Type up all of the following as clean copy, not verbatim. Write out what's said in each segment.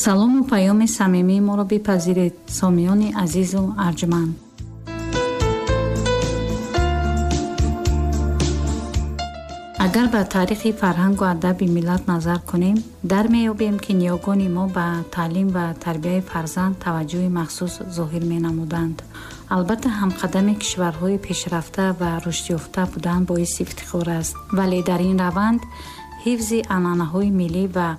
Салому паёми самимии моро бипазиред, сомиёни азизу арҷманд. Агар ба таърихи фарҳангу адаби миллат назар кунем, дар меёбем, ки ниёгони мо ба таълим ва тарбияи фарзанд таваҷҷӯҳи махсус зоҳир менамуданд. Албатта, ҳамқадами кишварҳои пешрафта ва рушдёфта будан боиси ифтихор аст, вале дар ин раванд ҳифзи анъанаҳои миллӣ ва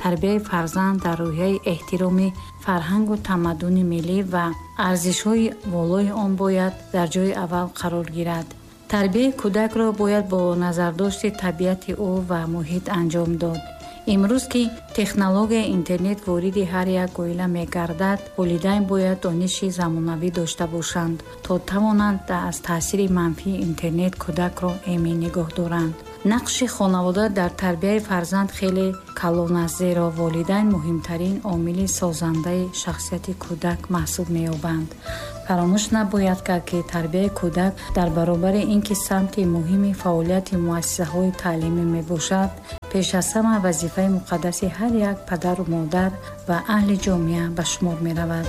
тарбияи фарзанд дар рӯҳияи эҳтироми фарҳангу тамаддуни миллӣ ва арзишҳои волои он бояд дар ҷои аввал қарор гирад. Тарбияи кӯдакро бояд бо назардошти табиати ӯ ва муҳит анҷом дод. Имрӯз ки технологияи интернет вориди ҳар як оила мегардад, волидайн бояд дониши замонавӣ дошта бошанд, то тавонанд аз таъсири манфии интернет кӯдакро эмин нигоҳ доранд. Нақши хонавода дар тарбияи фарзанд хеле калон аст, зеро волидайн муҳимтарин омили созандаи шахсияти кӯдак маҳсуб меёбанд. Фаромӯш набояд кард, ки тарбияи кӯдак дар баробари ин ки самти муҳими фаъолияти муассисаҳои таълимӣ мебошад, пеш аз ҳама вазифаи муқаддаси ҳар як падару модар ва аҳли ҷомеа ба шумор меравад.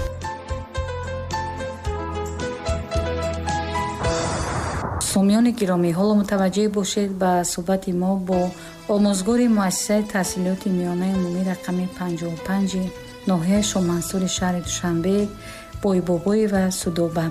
Сомиёни гиромӣ, ҳоло мутаваҷҷеҳ бошед ба суҳбати мо бо омӯзгори муассисаи таҳсилоти миёнаи умумӣ рақами 55 ноҳияи Шоҳмансури шаҳри Душанбе Бойбобоева Судоба.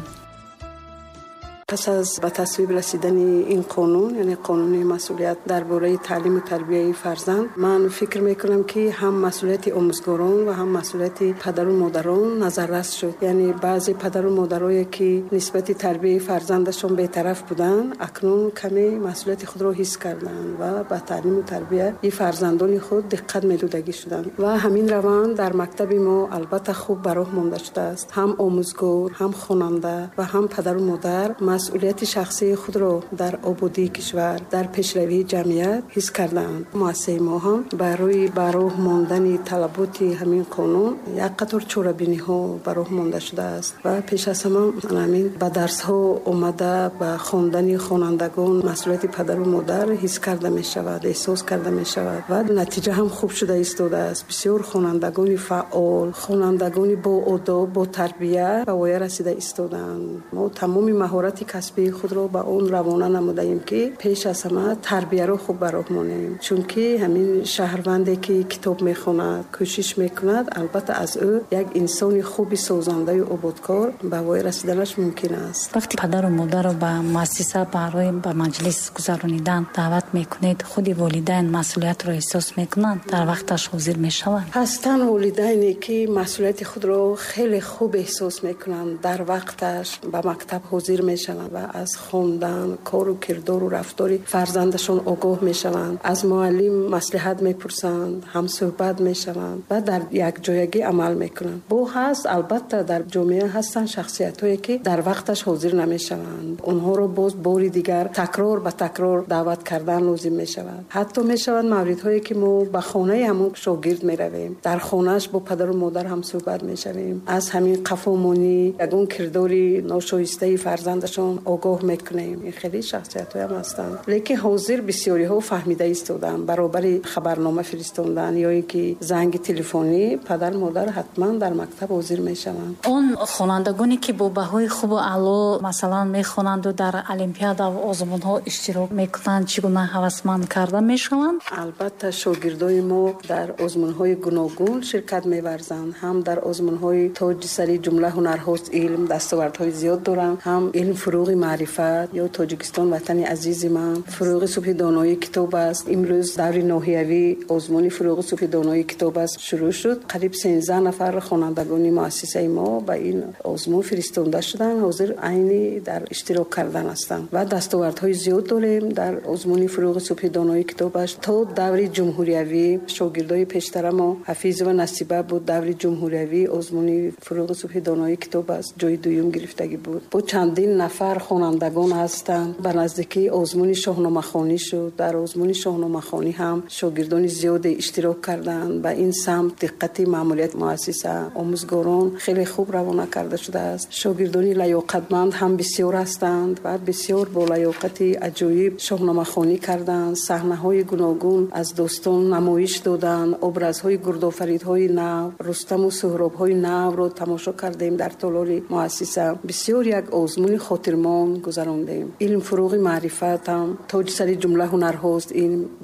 Пас аз ба тасвиб расидани ин қонун, яъне қонуни масъулият дар бораи таълиму тарбияи фарзанд, ман фикр мекунам, ки ҳам масъулияти омӯзгорон ва ҳам масъулияти падару модарон назаррас шуд. Яъне баъзе падару модарое, ки нисбати тарбияи фарзандашон бетараф буданд, акнун каме масъулияти худро ҳис карданд ва ба таълиму тарбияи фарзандони худ диққат медодагӣ шуданд. Ва ҳамин раванд дар мактаби мо албатта хуб ба роҳ монда шудааст. Ҳам омӯзгор, ҳам хонанда ва ҳам падару модар масъулияти шахсии худро дар ободии кишвар, дар пешравии ҷамъият ҳис кардаанд. Муассисаи мо ҳам барои ба роҳ мондани талаботи ҳамин қонун як қатор чорабиниҳо ба роҳ монда шудааст ва пеш аз ҳама ҳамин ба дарсҳо омада ба хондани хонандагон масъулияти падару модар ҳис карда мешавад, эҳсос карда мешавад ва натиҷа ҳам хуб шуда истодааст. Бисёр хонандагони фаъол, хонандагони боодоб, ботарбия ба воя расида истодаанд. Мо тамоми маҳорати касбии худро ба он равона намудаем, ки пеш аз ҳама тарбияро хуб ба роҳ монем, чунки ҳамин шаҳрванде, ки китоб мехонад, кӯшиш мекунад, албатта аз ӯ як инсони хуби созандаю ободкор ба воя расиданаш мумкин аст. Вақте падару модарро ба муассиса барои ба маҷлис гузаронидан даъват мекунед, худи волидайн масъулиятро эҳсос мекунанд, дар вақташ ҳозир мешаванд? Ҳастанд волидайне, ки масъулияти худро хеле хуб эҳсос мекунанд, дар вақташ ба мактаб ҳозир мешаванд ва аз хондан, кору кирдору рафтори фарзандашон огоҳ мешаванд, аз муаллим маслиҳат мепурсанд, ҳамсӯҳбат мешаванд ва дар якҷоягӣ амал мекунанд. Бо ҳаст, албатта, дар ҷомеа ҳастанд шахсиятҳое, ки дар вақташ ҳозир намешаванд. Онҳоро боз бори дигар такрор ба такрор даъват кардан лозим мешавад. Ҳатто мешавад мавридҳое, ки мо ба хонаи ҳамон шогирд меравем, дар хонааш бо падару модар ҳамсӯҳбат мешавем, аз ҳамин қафомонӣ, ягон кирдори ношоистаи фарзандашон огоҳ мекунем. Ин хеле шахсиятҳоям ҳастанд. Лекин ҳозир бисёриҳо фаҳмида истодаанд. Баробари хабарнома фиристондан ё ин ки занги телефонӣ, падар модар ҳатман дар мактаб ҳозир мешаванд. Он хонандагоне, ки бо баҳои хубу аъло масалан мехонанду дар олимпиада ва озмунҳо иштирок мекунанд, чӣ гуна ҳавасманд карда мешаванд? Албатта, шогирдои мо дар озмунҳои гуногун ширкат меварзанд. Ҳам дар озмунҳои тоҷи сари ҷумла ҳунарҳост илм дастовардҳои зиёд доранд, ҳам илм фурӯғи маърифат ё Тоҷикистон ватани азизи ман, фурӯғи субҳи донои китоб аст. Имрӯз даври ноҳиявӣ озмуни фурӯғи субҳи донои китоб аст шурӯъ шуд. Қариб 13 нафар хонандагони муассисаи мо ба ин озмун фиристонда шуданд. Ҳозир айни дар иштирок кардан ҳастанд ва дастовардҳои зиёд дорем дар озмуни фурӯғи субҳи донои китоб аст. То даври ҷумҳуриявӣ шогирдои пештара мо Ҳафизова Насиба буд, даври ҷумҳуриявӣ озмуни фурӯғи субҳи донои китоб аст ҷои дуюм гирифтагӣ буд. Бо чандин нафар нафар хонандагон ҳастанд. Ба наздикӣ озмуни шоҳномахонӣ шуд. Дар озмуни шоҳномахонӣ ҳам шогирдони зиёде иштирок карданд. Ба ин самт диққати маъмурияти муассиса, омӯзгорон хеле хуб равона карда шудааст. Шогирдони лаёқатманд ҳам бисёр ҳастанд ва бисёр бо лаёқати аҷоиб шоҳномахонӣ карданд. Саҳнаҳои гуногун аз достон намоиш доданд. Образҳои гурдофаридҳои нав, Рустаму Суҳробҳои навро тамошо кардем дар толори муассиса. Бисёр як озмуни хотирмон гузарондем. Илм фуруғи маърифат ҳам тоҷи сари ҷумла ҳунарҳост.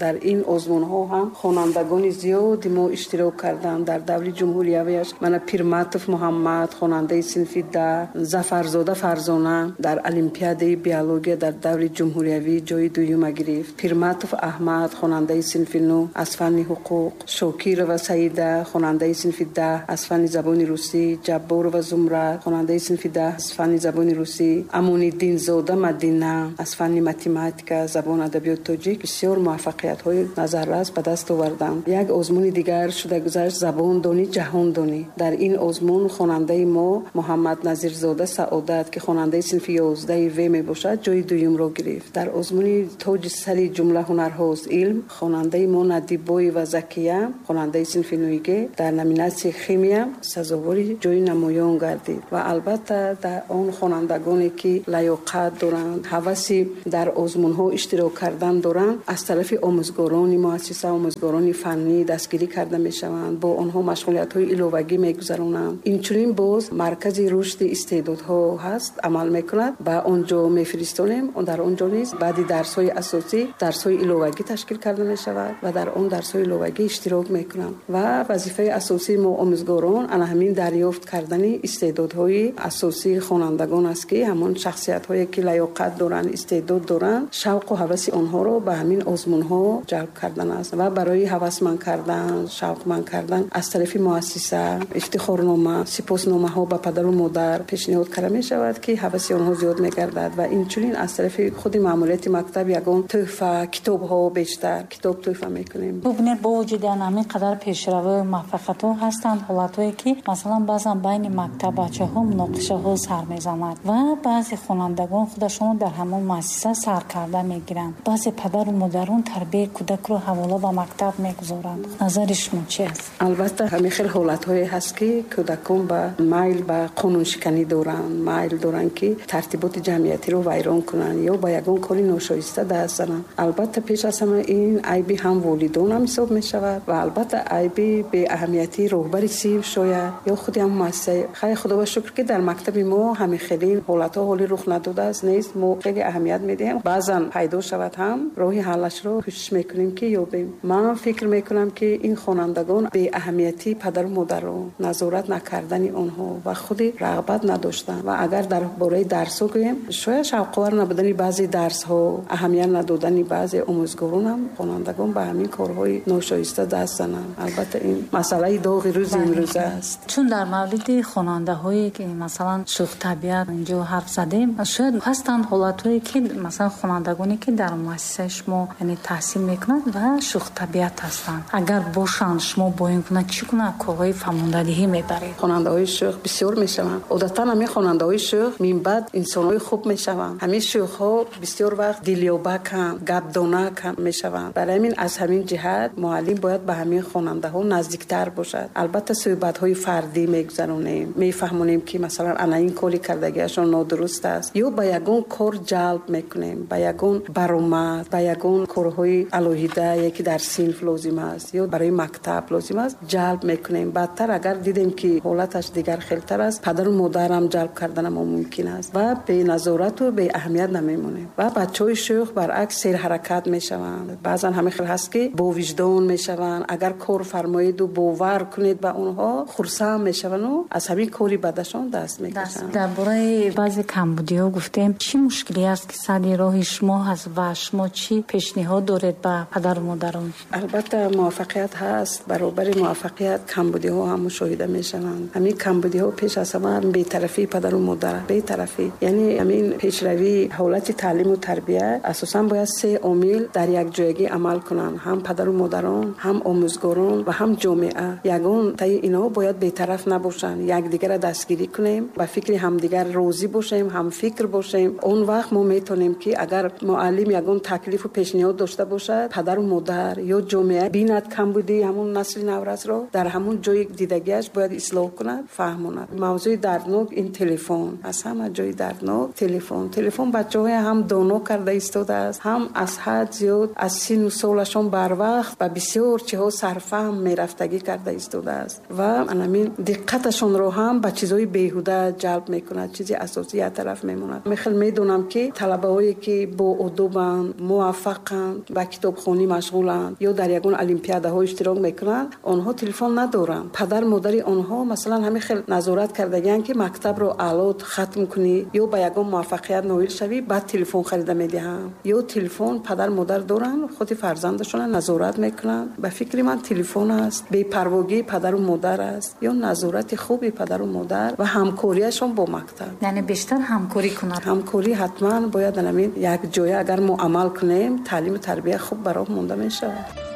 Дар ин озмунҳо ҳам хонандагони зиёди мо иштирок карданд. Дар даври ҷумҳуриявиаш мана Пирматов Муҳаммад, хонандаи синфи 10, Зафарзода Фарзона дар олимпиадаи биология дар даври ҷумҳуриявӣ ҷои дуюма гирифт. Пирматов Аҳмад, хонандаи синфи 9 аз фанни ҳуқуқ, Шокирова Саида, хонандаи синфи 10 аз фанни забони русӣ, Ҷабборова Зумрад, хонандаи синфи 10 аз фанни забони русӣ, Амониддинзода Мадина аз фанни математика, забон адабиёти тоҷик бисёр муваффақиятҳои назаррас ба даст оварданд. Як озмуни дигар шуда гузашт, забондонӣ ҷаҳондонӣ. Дар ин озмун хонандаи мо Муҳаммад Назирзода Саодат, ки хонандаи синфи 11 В мебошад, ҷои дуюмро гирифт. Дар озмуни тоҷи сари ҷумла ҳунарҳост илм, хонандаи мо Надибоева Закия, хонандаи синфи 9 Г, дар номинатсияи химия сазовори ҷои намоён гардид. Ва албатта дар он хонандагоне ки лаёқат доранд, ҳаваси дар озмунҳо иштирок кардан доранд, аз тарафи омӯзгорони муассиса, омӯзгорони фаннӣ дастгирӣ карда мешаванд, бо онҳо машғулиятҳои иловагӣ мегузаронанд. Инчунин боз маркази рушди истеъдодҳо ҳаст, амал мекунад, ба он ҷо мефиристонем. Дар он ҷо низ баъди дарсҳои асосӣ дарсҳои иловагӣ ташкил карда мешавад ва дар он дарсҳои иловагӣ иштирок мекунанд. Ва вазифаи асосии мо омӯзгорон ана ҳамин дарёфт кардани истеъдодҳои асосии хонандагон аст, ки ҳамон шахсиятҳое ки лаёқат доранд, истеъдод доранд, шавқу ҳаваси онҳоро ба ҳамин озмунҳо ҷалб кардан аст. Ва барои ҳавасманд кардан, шавқманд кардан аз тарафи муассиса ифтихорнома, сипосномаҳо ба падару модар пешниҳод карда мешавад, ки ҳаваси онҳо зиёд мегардад. Ва инчунин аз тарафи худи маъмурияти мактаб ягон тӯҳфа, китобҳо, бештар китоб тӯҳфа мекунем. Бубинед, бо вуҷуди ҳамин қадар пешравию муваффақиятҳо ҳастанд ҳолатҳое ки масалан баъзан байни мактаббачаҳо муноқишаҳо сар мезанад ва баъзе хонандагон худашонро дар ҳамон муассиса сар карда мегиранд. Баъзе падару модарон тарбияи кӯдакро ҳавола ба мактаб мегузоранд. Назари шумо чи аст? Албатта ҳамин хел ҳолатҳое ҳаст, ки кӯдакон ба майл ба қонуншиканӣ доранд, майл доранд, ки тартиботи ҷамъиятиро вайрон кунанд ё ба ягон кори ношоиста даст зананд. Албатта пеш аз ҳама ин айби ҳам волидон ҳам ҳисоб мешавад ва албатта айби беаҳамиятии роҳбари синф шояд ё худи ҳам муассиса. Хайр, худо ба шукр, ки дар мактаби мо ҳамин хеле ҳолатҳо ҳоли рух надодааст, нест. Мо хеле аҳамият медиҳем. Баъзан пайдо шавад ҳам роҳи ҳаллашро кӯшиш мекунем, ки ёбем. Ман фикр мекунам, ки ин хонандагон беаҳамиятии падару модарро, назорат накардани онҳо ва худи рағбат надоштан. Ва агар дар бораи дарсҳо гӯем, шояд шавқовар набудани баъзе дарсҳо, аҳамият надодани баъзе омӯзгорон ҳам хонандагон ба ҳамин корҳои ношоиста даст зананд. Албатта ин масъалаи доғи рӯзи имрӯза аст. Чун дар мавриди хонандаҳое ки масалан шӯхтабиат инҷо ҳарф задем, шояд ҳастанд ҳолатҳое ки масалан хонандагоне ки дар муассисаи шумо яъне таҳсил мекунанд ва шӯхтабиат ҳастанд, агар бошанд, шумо бо ин гуна чӣ гуна корҳои фаҳмондадиҳӣ мебаред? Хонандаҳои шӯх бисёр мешаванд. Одатан ҳамин хонандаҳои шӯх минбаъд инсонҳои хуб мешаванд. Ҳамин шӯхҳо бисёр вақт дилёбаканд, гапдонаканд мешаванд. Барои ҳамин аз ҳамин ҷиҳат муаллим бояд ба ҳамин хонандаҳо наздиктар бошад. Албатта суҳбатҳои фардӣ мегузаронем, мефаҳмонем, ки масалан ана ин кори кардагиашон нодуруст аст, ё ба ягон кор ҷалб мекунем, ба ягон баромад, ба ягон корҳои алоҳидае ки дар синф лозим аст ё барои мактаб лозим аст ҷалб мекунем. Баъдтар агар дидем, ки ҳолаташ дигар хелтар аст, падару модарам ҷалб карданам мумкин аст ва беназорату беаҳамият намемонем. Ва бачаҳои шӯх баръакс серҳаракат мешаванд. Баъзан ҳамин хел ҳаст, ки бовиҷдон мешаванд. Агар кор фармоеду бовар кунед ба онҳо, хурсанд мешаванду аз ҳамин кори бадашон даст мекашанд. Дар бораи баъзе камбудиҳо гуфтем. Чӣ мушкиле аст, ки сари роҳи шумо ҳаст ва шумо чӣ пешниҳод доред ба падару модарон? Албатта муваффақият ҳаст, баробари муваффақият камбудиҳо ҳам мушоҳида мешаванд. Ҳамин камбудиҳо пеш аз ҳама бетарафии падару модар, бетарафӣ, яъне ҳамин пешравии ҳолати таълиму тарбия асосан бояд се омил дар якҷоягӣ амал кунанд: ҳам падару модарон, ҳам омӯзгорон ва ҳам ҷомеа. Ягон таи инҳо бояд бетараф набошанд. Якдигарро дастгирӣ кунем, ба фикри ҳамдигар розӣ бошем, ҳамфикр ҳамфикр бошем, он вақт мо метавонем, ки агар муаллим ягон таклифу пешниҳод дошта бошад, падару модар ё ҷомеа бинад камбудии ҳамун насли наврасро, дар ҳамун ҷои дидагиаш бояд ислоҳ кунад, фаҳмонад. Мавзӯи дарднок ин телефон, аз ҳама ҷои дарднок телефон. Телефон бачаҳое ҳам доно карда истодааст, ҳам аз ҳад зиёд аз сину солашон барвақт ба бисёр чиҳо сарфаҳм мерафтагӣ карда истодааст ва анамин диққаташонро ҳам ба чизҳои беҳуда ҷалб мекунад, чизи асосӣ як тараф мемонад. Мехел медонам, ки талабаҳое ки боодобанд, муваффақанд, ба китобхонӣ машғуланд ё дар ягон олимпиадаҳо иштирок мекунанд, онҳо телефон надоранд. Падар модари онҳо масалан ҳамин хел назорат кардагианд, ки мактабро аъло хатм кунӣ ё ба ягон муваффақият ноил шавӣ, баъд телефон харида медиҳам. Ё телефон падар модар доранд, худи фарзандашонро назорат мекунанд. Ба фикри ман, телефон аст, бепарвогии падару модар аст ё назорати хуби падару модар ва ҳамкориашон бо мактаб. Яъне бештар ҳамкорӣ кунад. Ҳамкорӣ ҳатман бояд. Анамин як ҷоя агар мо амал кунем, таълиму тарбия хуб ба роҳ монда мешавад.